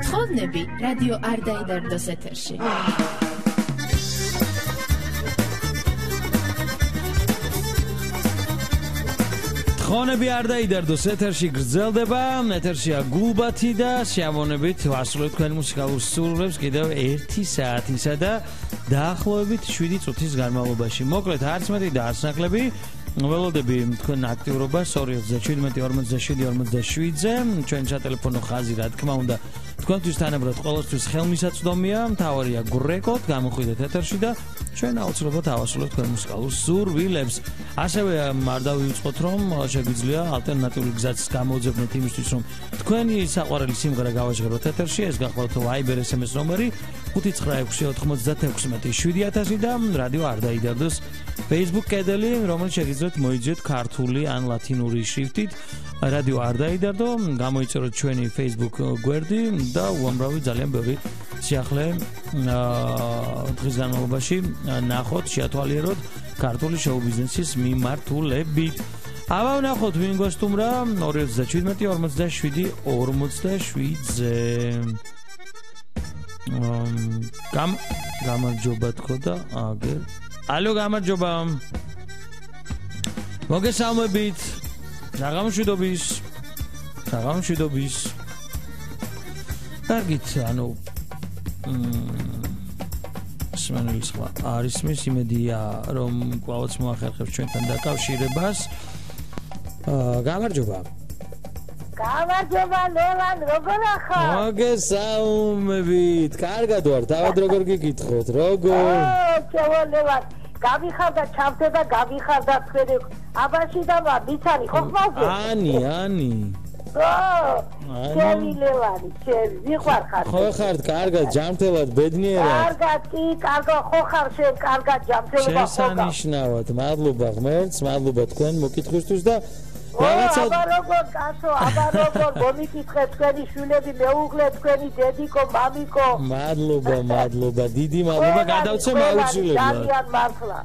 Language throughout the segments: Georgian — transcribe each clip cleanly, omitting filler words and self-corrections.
თხოვნები რადიო არ დაიდარდოს ეთერში. თხოვნები არ დაიდარდოს ეთერში გრძელდება, ეთერშია გულბათი და სიამოვნებით ვასრულებთ თქვენ მუსიკალურ სურვილებს კიდევ 1 საათისა და დაახლოებით 7 წუთის განმავლობაში. მოკლედ არც მეტი და არც ნაკლები ველოდები თქვენ აქტიურობას 207-47-47-ზე ჩვენ სატელეფონო ხაზი რა თქმა უნდა თქვენთვის თანაბრად ყოველთვის ხელმისაწვდომია, მთავარია გრეკოთ, გამოხვიდეთ ეთერში და ჩვენ აუცილებლად ავასრულებთ თქვენ მუსიკალურ სურვილებს. ასევე არ დავიუწყოთ რომ შეგვიძლია ალტერნატიული გზაც გამოუძებნეთ იმისთვის რომ თქვენი საყვარელი სიმღერა გავაჟღეროთ ეთერში, ეს გახლავთ Viber SMS ნომერი 596-96-7000 და რადიო არ დაიდარდოს Facebook კედელი, რომელიც შეგიძლიათ მოიძიოთ ქართული ან ლათინური შრიფტით. რადიო არ დაიდარდო, გამოიწეროთ ჩვენი Facebook გვერდი და უამრავი ძალიან ბევრი სიახლე დღის განმავლობაში ნახოთ, შეათვალიეროთ ქართული შოუ-ბიზნესის მიმართულებით. აბა ვნახოთ ვინ გვესტუმრა 217-47-47-ზე. გამარჯობა თქო და აგერ. ალო, გამარჯობა. მოგესალმებით. საღამოშვიდობის. კარგით, ანუ სმენელი სხვა არის მის იმედია რომ კვლავაც მოახერხებს ჩვენთან დაკავშირებას. გამარჯობა. გამარჯობა ლევან, როგორ ახარ? მოგესალმებით. კარგად ვარ, თავად როგორ გიგითხოთ? როგორ? ჩავა ლევან, გამიხარდა ჩავდება, გამიხარდა თქვენი აბაში და მიცანი ხო ხმაზე? ანი. ჩემი ლევანი, ჩემი, ვიყვარ ხარ. ხო ხართ, კარგად, ჯანმრთელად, ბედნიერად. კარგად, კი, კარგად, ხო ხარ შენ, კარგად, ჯანმრთელობა ხო? შესანიშნავად, მადლობა ღმერთს, მადლობა თქვენ მოკითხვისთვის და რაღაცა აბა როგორ კაცო, აბა როგორ მომიკითხე თქვენი შვილები, მეუღლე თქვენი დედიკო, მამიკო. მადლობა, დიდი მადლობა, გადავცემ აუცილებლად. ძალიან მართლა.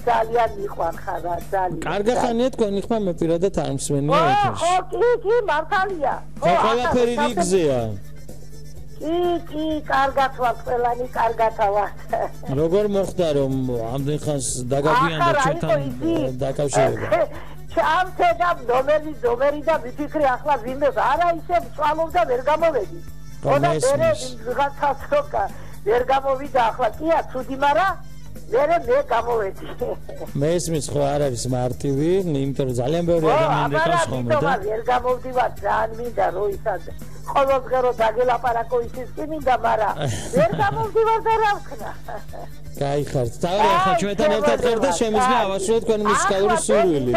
ძალიან მიყვარ ხარ, ძალიან. კარგი ხანია თქვენი ხმა მე პირადად არ მსმენია ეთერში. ხო, კი, მართალია. ხო, ყველაფერი რიგზეა. კი, კარგად ვარ, ყველანი კარგად ვარ. როგორ მოხდა რომ ამდენ ხანს დაგაბიანდა ჩვენთან დაკავშირება? ჩამწედა ნომერი და ვიფიქრე ახლა ვინმე არა ისე წვალობდა ვერ გამოვედი. ხოდა მე ვიღაცას როკა ვერ გამოვიდა ახლა კია ცუდი მარა მე გამოვედი. მესმის ხო არ არის მარტივი, იმიტომ რომ ძალიან ბევრი ადამიანი დაკავს ხოლმე და ვერ გამოვდივარ ძალიან მინდა რო ისად ყოველდღე დაგელაპარაკო ისიც კი მინდა, მარა ვერ გამოვდივარ და რა ვქნა. გაიხართ. თავი ახლა ჩვენთან ერთად ხარ და შემიძლია ავასრულოთ თქვენი მუსიკალური სურვილი.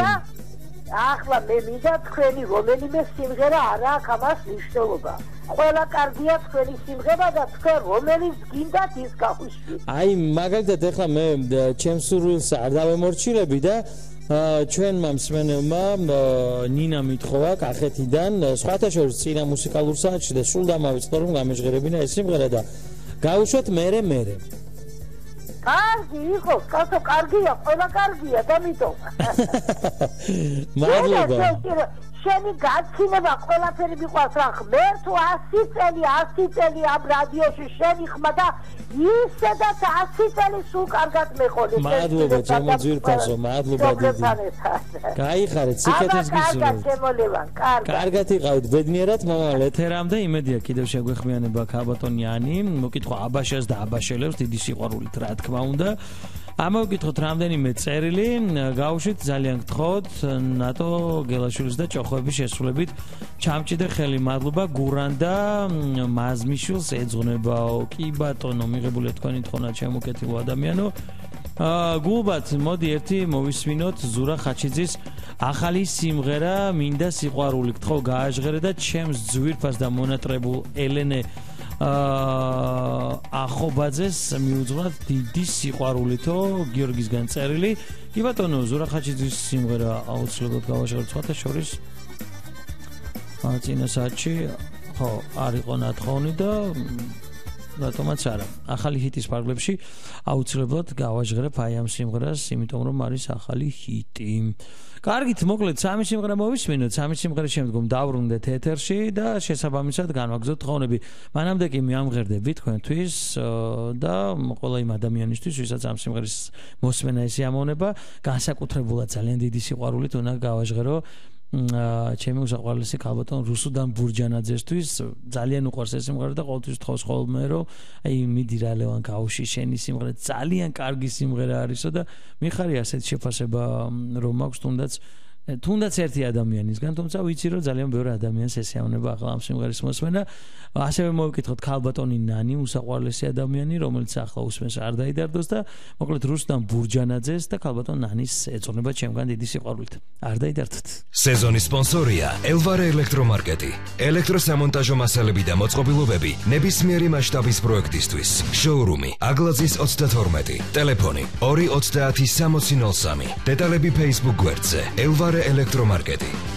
ახლა მე მინდა თქვენი რომელიმე სიმღერა არა აქვს ამას მნიშვნელობა. ყველა კარგია თქვენი სიმღერა და თქვენ რომელიც გინდათ ის გავუშვით. აი მაგალითად ახლა მე ჩემს სურვილს არ დავემორჩილები და ჩვენმა მსმენელმა ნინა მითხოვა კახეთიდან სხვათა შორის წინა მუსიკალურ საათში და სულ დამავიწყდა რომ გამეჟღერებინა ეს სიმღერა და გავუშვათ მერე. კარგი იყო, კაცო, კარგია, ყველა კარგია და მითო. მადლობა. შენი გაცილება ყველაფერი მიყვარს რა, ღმერთო 100 წელი ამ რადიოში შენი ხმა და ისედაც 100 წელი სულ კარგად მეყოლე. მადლობა ჩემო ძვირფასო, მადლობა დიდი. გაიხარეთ, სიკეთეს გისურვებთ. კარგად შემოლევან, კარგად. კარგად იყავით, ბედნიერად მომავალ ეთერამდე, იმედია კიდევ შეგვეხმიანება ქალბატონი ანი, მოკითხვა აბაშას და აბაშელებს დიდი სიყვარულით რა თქმა უნდა. ამოვკითხოთ რამდენიმე წერილი, გავუშვით ძალიან გთხოვთ ნატო გელაშვილის და ჭოხოების შესრულებით ჩამჭიდე ხელი. მადლობა გურანდა მაზმიშვილს ეძღვნებაო. კი ბატონო, მიღებულია თქვენი თხოვნა ჩემო ადამიანო. გულბათ, მოდი ერთი მოვისმინოთ ზურა ხაჩიძის ახალი სიმღერა მინდა სიყვარული. გთხოვ გააჟღერე და ჩემს ძვირფას და მონატრებულ ელენე ახობაძეს მიუძღვნათ დიდი სიყვარულითო გიორგისგან წერილი. კი ბატონო, ზურა ხაჩიძის სიმღერა აუცილებლად გავაჟღეროთ სხვათა შორის. წინა საათში ხო არ იყო ნათხოვნი და რატომაც არა. ახალი ჰიტის ფარგლებში აუცილებლად გავაჟღერებ აი ამ სიმღერას, იმიტომ რომ არის ახალი ჰიტი. კარგით, მოკლედ, სამი სიმღერა მოვისმინოთ, სამი სიმღერის შემდგომ დავბრუნდეთ ეთერში და შესაბამისად განვაგრძოთ თხოვნები. მანამდე კი მიამღერდები თქვენთვის და ყველა იმ ადამიანისთვის, ვისაც ამ სიმღერის მოსმენა ესიამოვნება, განსაკუთრებულად ძალიან დიდი სიყვარულით უნდა გავაჟღერო ჩემი უსაყვარლესი ქალბატონ რუსუდან ბურჯანაძესთვის ძალიან უყვარს ეს სიმღერა და ყოველთვის თხოვს ხოლმე რომ აი მიდი რა ლევან გაუში შენი სიმღერა ძალიან კარგი სიმღერა არისო და მიხარი ასეთ შეფასება რომ მაქვს თუნდაც ერთი ადამიანისგან თუმცა ვიცი რომ ძალიან ბევრი ადამიანს ესეავნება ახლა ამ სიმღერის მოსმენა ასევე მოვიკითხოთ ქალბატონი ნანი უსაყვარლესი ადამიანი რომელიც ახლა უსმენს არ დაიდარდოს და მოკლედ რუსუდან ბურჯანაძეს და ქალბატონ ნანის ეწონება ჩემგან დიდი სიყვარულით არ დაიდარდოთ სეზონის სპონსორია ელვარე ელექტრომარკეტი ელექტროსამონტაჟო მასალები და მოწყობილობები ნებისმიერი მასშტაბის პროექტისთვის შოურუმი აგლაძის 32 ტელეფონი 230 6003 დეტალები Facebook გვერდზე ელვარე ელექტრომარკეტი